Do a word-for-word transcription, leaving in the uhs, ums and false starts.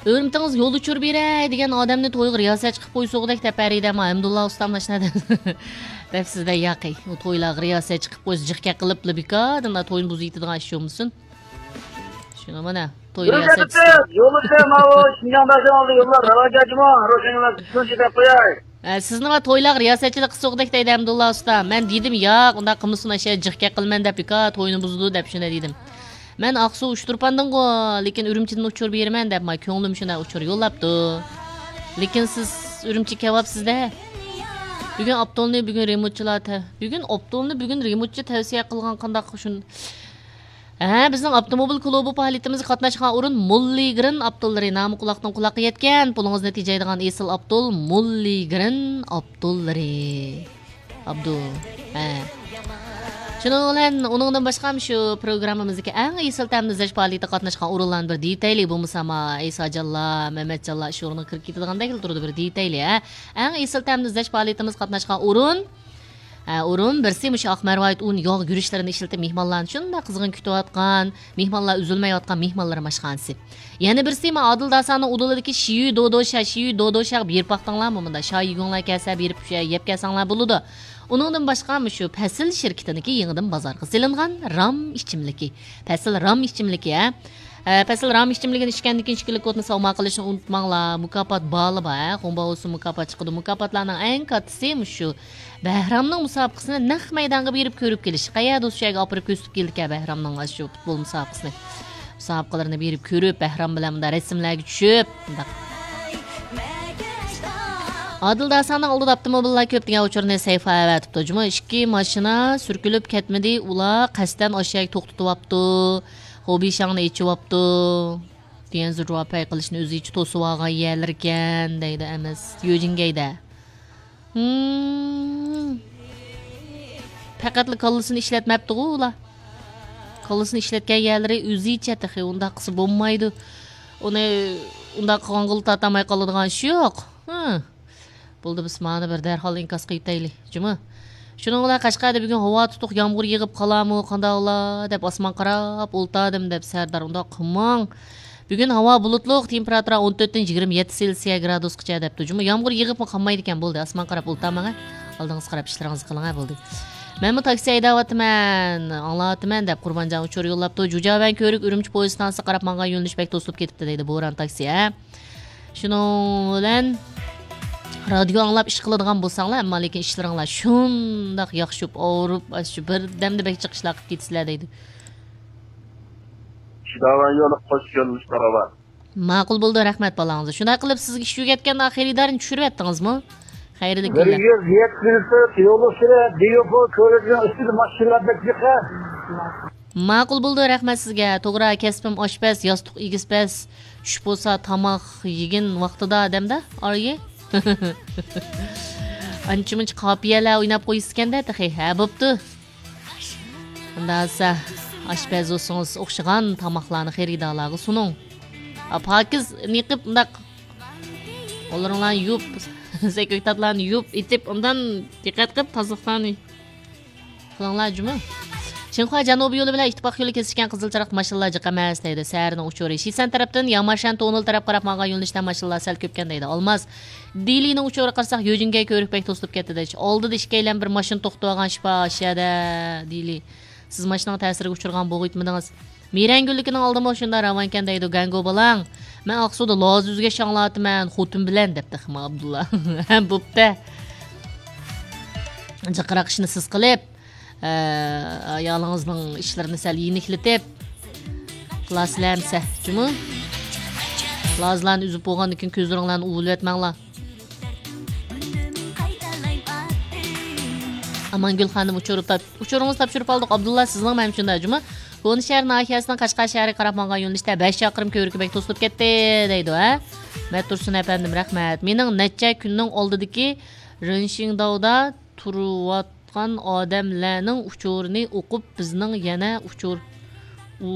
ئۆرۈمتىڭىز يول ئۇچۇر بېرەي دېگەن ئادەمنى تويغا رىياسەتچى قىلىپ قويسىغۇدەك دەپ بەرىدە، ئەمما ھەمدۇللا ئۇستام ئاشۇنداق دەپسىزدە ياقى. ئۇ تويلارغا رىياسەتچى قىلىپ قويسا جىق گەپ قىلىپلا بىكار، توينى بۇزۇۋېتىدىغان ئىش بولمىسۇن. شۇنى مانا، توي رىياسەتچىسى. يولدا ماۋۇ شىنجاڭ بەرسەڭ ئالدى يوللار راۋان جاجىما، روشەنگە تۇتۇنچى دەپ قوياي. ئە، سىزنىڭ تويلارغا رىياسەتچىلىك قىلسىغۇدەك دەيدۇ ھەمدۇللا ئۇستا. مەن دېدىم، ياق، ئۇنداق قىلمىسۇن، ئاشۇ جىق گەپ قىلىمەن دەپ بىكار توينى بۇزىدۇ دەپ شۇنداق دېدىم. مەن ئاقسۇ ئۇچتۇرپاندىنغۇ، لېكىن ئۈرۈمچىدىن ئۇچۇر بېرىمەن دەپ، ما كۆڭلۈم شۇنداق ئۇچۇر يوللاپتۇ. لېكىن سىز ئۈرۈمچىگە كەۋاپسىز-دە. بۈگۈن ئاپتولنى بۈگۈن رېمونتچىلار تە-، بۈگۈن ئاپتولنى بۈگۈن رېمونتچى تەۋسىيە قىلغان قانداق شۇن-، ھە، بىزنىڭ ئاپتوموبىل كۇلۇبى پائالىيىتىمىزگە قاتناشقان ئورۇن موللىگرىن ئاپتوللىرى. نامى قۇلاقتىن قۇلاققا يەتكەن، پۇلىڭىزنى تېجەيدىغان ئېسىل ئاپتول موللىگرىن ئاپتوللىرى. ئابدۇ. ھە. شۇنىڭ بىلەن ئۇنىڭدىن باشقا شۇ پروگراممىمىزدىكى ئەڭ ئېسىل تەمنى ئىزدەش پائالىيىتىگە قاتناشقان ئورۇنلارنى بىر دېيىۋېتەيلى. بولمىسا ما ئەيساجانلار، مەمەتجانلار ئىش ئورنىغا كىرىپ كېتىدىغاندەك تۇرىدۇ، بىر دېيىۋېتەيلى، ھە. ئەڭ ئېسىل تەمنى ئىزدەش پائالىيىتىمىزگە قاتناشقان ئورۇن، ھە، ئورۇن بىرسى مۇشۇ ئاق مەرۋايىت ئۇن ياغ گۈرۈچلىرىنى ئىشلىتىپ مېھمانلارنى شۇنداق قىزغىن كۈتۈۋاتقان، مېھمانلار ئۈزۈلمەيۋاتقان مېھمانلىرىم ئاشخانىسى. يەنە بىرسى، ما ئادىل داساننىڭ ئۇدۇلىدىكى شىيۈ دودوشا، شىيۈ دودوشاغا بېرىپ باقتىڭلارمۇ؟ مۇندا شاي يېگۈڭلار كەلسە بېرىپ يەپ كەلسەڭلار بولىدۇ. ئۇنىڭدىن باشقا مۇشۇ پەسىل شىركىتىنىڭكى يېڭىدىن بازارغا سېلىنغان رام ئىچىملىكى. پەسىل رام ئىچىملىكى، ھە. ئە، پەسىل رام ئىچىملىكىنى ئىچكەندىن كېيىن ئىككى لىكوتنى ساۋما قىلىشنى ئۇنتۇماڭلار. مۇكاپات بالى بار، ھە. خۇڭباۋۇسى مۇكاپات چىقىدۇ. مۇكاپاتلارنىڭ ئەڭ كاتتىسى مۇشۇ بەھرامنىڭ مۇسابىقىسىنى نەق مەيدانغا بېرىپ كۆرۈپ كېلىش. قەيەردە شۇ يەرگە ئاپىرىپ كۆرسىتىپ كېلىدىكەن بەھرامنىڭ ئاشۇ پۇتبول مۇسابىقىسىنى. مۇسابىقىلىرىنى بېرىپ كۆرۈپ، بەھرام بىلەن مۇنداق رەسىملەرگە چۈشۈپ، مۇنداق. ئادىل داساننىڭ ئالدىدا ئاپتوموبىللار كۆپ دېگەن ئۇچۇرنى سەيفا ئەۋەتىپتۇ. جۇمۇ ئىككى ماشىنا سۈركىلىپ كەتمىدى، ئۇلار قەستەن ئاشۇ يەرگە توختىتىۋاپتۇ. خوبىشاڭنى ئېچىۋاپتۇ. تيەنزى جۇۋاپەي قىلىشنى ئۆزىچە توسۇۋالغان يەرلىرىكەن دەيدۇ ئەمەس. يۆجىنگەيدە. ھىم. پەقەتلا كاللىسىنى ئىشلەتمەپتىغۇ ئۇلار. كاللىسىنى ئىشلەتكەن يەرلىرى ئۆزىچە تېخى ئۇنداق قىلسا بولمايدۇ. ئۇنى ئۇنداق قىلغانغىلا تارتالماي قالىدىغان ئىش يوق. ھە. بولدى، بىز مانا بىر دەرھال ئىنكاس قىلىۋېتەيلى، جۇمۇ. شۇنىڭ بىلەن قەشقەردە بۈگۈن ھاۋا تۇتۇق، يامغۇر يېغىپ قالارمۇ، قانداقلا دەپ ئاسمان قاراپ ئولتۇردۇم دەپ سەردار ئۇنداق قىلماڭ. بۈگۈن ھاۋا بۇلۇتلۇق، تېمپېراتۇرا ئون تۆتتىن يىگىرمە يەتتە سېلسىيە گرادۇسقىچە دەپتۇ. جۇمۇ يامغۇر يېغىپمۇ قالمايدىكەن، بولدى، ئاسمان قاراپ ئولتۇرماڭ، ھە. ئالدىڭىزغا قاراپ ئىشلىرىڭىزنى قىلىڭ، ھە، بولدى. مەنمۇ تاكسى ھەيدەۋاتىمەن، ئاڭلاۋاتىمەن دەپ قۇربانجان ئۇچۇر يوللاپتۇ. جۇجياۋەن كۆۋرۈك ئۈرۈمچى پويىز ئىستانسىسىغا قاراپ ماڭغان يۆنىلىش بەك توسۇلۇپ كېتىپتۇ دەيدۇ، بوران تاكسى، ھە. شۇنىڭ بىلەن رادىيو ئاڭلاپ ئىش قىلىدىغان بولساڭلار، ئەمما لېكىن ئىشلىرىڭلار شۇنداق ياخشى بولۇپ، ئاۋۇرۇپ، ئاشۇ بىردەمدە بەك جىق ئىشلار قىلىپ كېتىسىلەر دەيدۇ. شىداۋان يولى قوش يۆنىلىش باراۋان. ماقۇل بولدى، رەھمەت بالاڭىزغا. شۇنداق قىلىپ سىزگە ئىش ئۆگەتكەندە خېرىدارنى چۈشۈرۈۋەتتىڭىزمۇ؟ خەيرلىك بىر كۈنلەر. يۈز يەتمىش تۆت يول ئۈستىدە دېيۇپو كۆۋرۈكنىڭ ئۈستىدە ماشىنىلار بەك جىق. ماقۇل بولدى، رەھمەت سىزگە. توغرا، كەسپىم ئاشپەز، ياستۇق ئېگىز پەس، چۈش بولسا تاماق يېگىن ۋاقتىدا ئادەمدە، ئارىيى. ئانچە-مۇنچە قاپىيەلەر ئويناپ قويىسىكەندە تېخى. ھە، بوپتۇ. ئۇنداق دېسە، ئاشپەز بولسىڭىز ئوخشىغان تاماقلارنى خېرىدارلارغا سۇنۇڭ. ئا، پاكىز نېقىپ ئۇنداق قوللىرىڭلارنى يۇيۇپ، سەكرىتاتلارنى يۇيۇپ ئېتىپ، ئۇندان دىققەت قىلىپ تازىلىقلارنى قىلىڭلار جۇمۇ. شىنخۇا جەنۇبىي يولى بىلەن ئىتتىپاق يولى كېسىشكەن قىزىل چىراغدا ماشىنىلار جىق ئەمەس دەيدۇ. سەھەرنىڭ ئۇچۇرى. شىسەن تەرەپتىن ياماشەن تونېل تەرەپ قاراپ ماڭغان يۆنىلىشتە ماشىنىلار سەل كۆپكەن دەيدۇ. ئالماز. دېلىنىڭ ئۇچۇرىغا قارىساق، يۆجىنگەي كۆۋرۈك بەك توسۇلۇپ كەتتى دەيدۇ. ئالدىدا ئىككىيلەن بىر ماشىنا توختىتىۋالغان ئىش بار ئاشۇ يەردە، دېلى. سىز ماشىنىنىڭ تەسىرىگە ئۇچرىغان بولغىيتمىدىڭىز. مىرەنگۈللۈكىنىڭ ئالدىمۇ شۇنداق راۋانكەن دەيدۇ، گەڭگو بالاڭ. مەن ئاقسۇدا لازا ئۈزگەچ ئاڭلاۋاتىمەن، خوتۇن بىلەن، دەپتۇ خېمە ئابدۇللا. ھە، بوپتە. جىقراق ئىشنى سىز قىلىپ، ئە، ئايالىڭىزنىڭ ئىشلىرىنى سەل يېنىكلىتىپ قىلاسىلەر ئەمسە، جۇمۇ؟ لازىلارنى ئۈزۈپ بولغاندىن كېيىن كۆزلىرىڭلارنى ئۇۋۇلىۋەتمەڭلار. ئامانگۈل خانىم ئۇچۇرۇپ تاپ-، ئۇچۇرىڭىزنى تاپشۇرۇپ ئالدۇق. ئابدۇللا، سىزنىڭ مەن شۇنداق جۇمۇ. كونىشەھەر ناھىيەسىنىڭ قەشقەر شەھىرىگە قاراپ ماڭغان يۆنىلىشتە بەش چاقىرىم كۆۋرۈكى بەك توسۇلۇپ كەتتى دەيدۇ، ھە؟ مەتتۇرسۇن ئەپەندىم، رەھمەت. مېنىڭ نەچچە كۈننىڭ ئالدىدىكى رېنشىڭداۋدا تۇرۇۋاتقان ئادەملەرنىڭ ئۇچۇرىنى ئوقۇپ، بىزنىڭ يەنە ئۇچۇر، ئۇ،